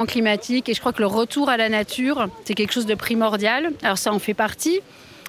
Climatique et je crois que le retour à la nature c'est quelque chose de primordial alors ça en fait partie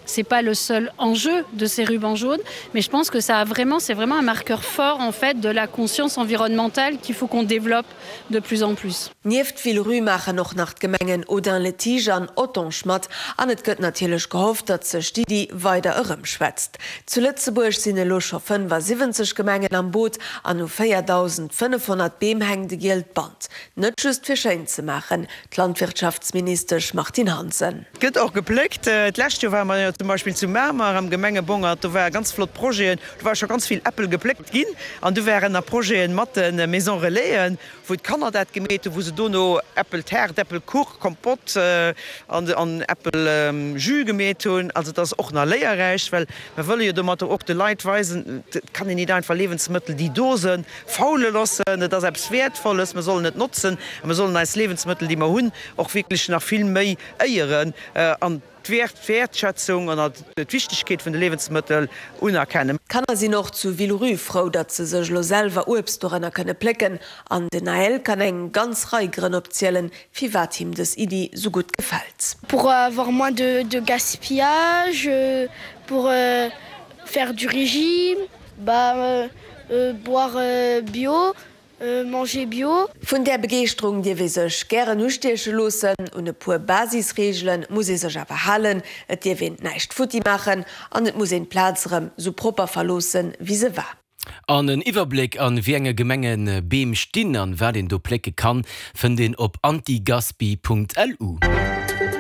c'est pas le seul enjeu de ces rubans jaunes mais je pense que ça a vraiment c'est vraiment un marqueur fort en fait de la conscience environnementale qu'il faut qu'on développe de plus en plus. Nieft Villerupt maachen och nach d'Gemengen Audun-le-Tiche an Ottange mat an et gëtt natierlech gehofft, datt sech d'Iddi weider erëmschwätzt. Zu Lëtzebuerg sinn elo scho 75 Gemengen am Boot an u 4.500 Beem hänkt e gielt Band. Net just fir schéin ze maachen, d'Landwirtschaftsministesch Martine Hansen. Et gëtt och gepléckt. D'lescht Joer ware mer jo zum Beispill zu Mamer am Gemengebongert, do ware ganz flott Projeten, do ware scho ganz vill Äppel gepléckt ginn an du waren nach Projeten mat de Maison Relaisen, wou d'Kanner dat gemeet hunn, wou se dono Äppeltaart, Äppelkuch, Kompott an Äppeljus gemeet hunn. Also et ass och nach léierräich, well mer wëlle jo domatter och de Leit weisen, et kann een nit einfach Liewensmëttel, déi do sënn, faule loossen. Et ass eppes Wäertvolles, mer sollen et notzen a mer sollen eis Liewensmëttel, déi mer hunn, och wierklech nach vill méi éieren an d'Wäertschätzung an d'Wichtegkeet vun de Liewensmëttel unerkennen. D'Kanner sinn och zu Villerupt frou, datt se sech elo selwer Uebst dorënner kënne plécken. An den Naël kann eng ganz Rei Grënn opzielen, firwat him dës Iddi sou gutt gefält. Pour avoir moins de de gaspillage, pour faire du régime, bah Boire bio, manger bio. Vun där Begeeschterung dierf ee sech gären ustieche loossen. Un e puer Basisreegele muss ee sech awer halen, Et dierf een näischt futti maachen an et muss een d'Plaz erëm sou propper verloossen, wéi se war. An en Iwwerbléck an wéi enge Gemenge Beem stinn an wat een do plécke kann, fënnt een op antigaspi.lu.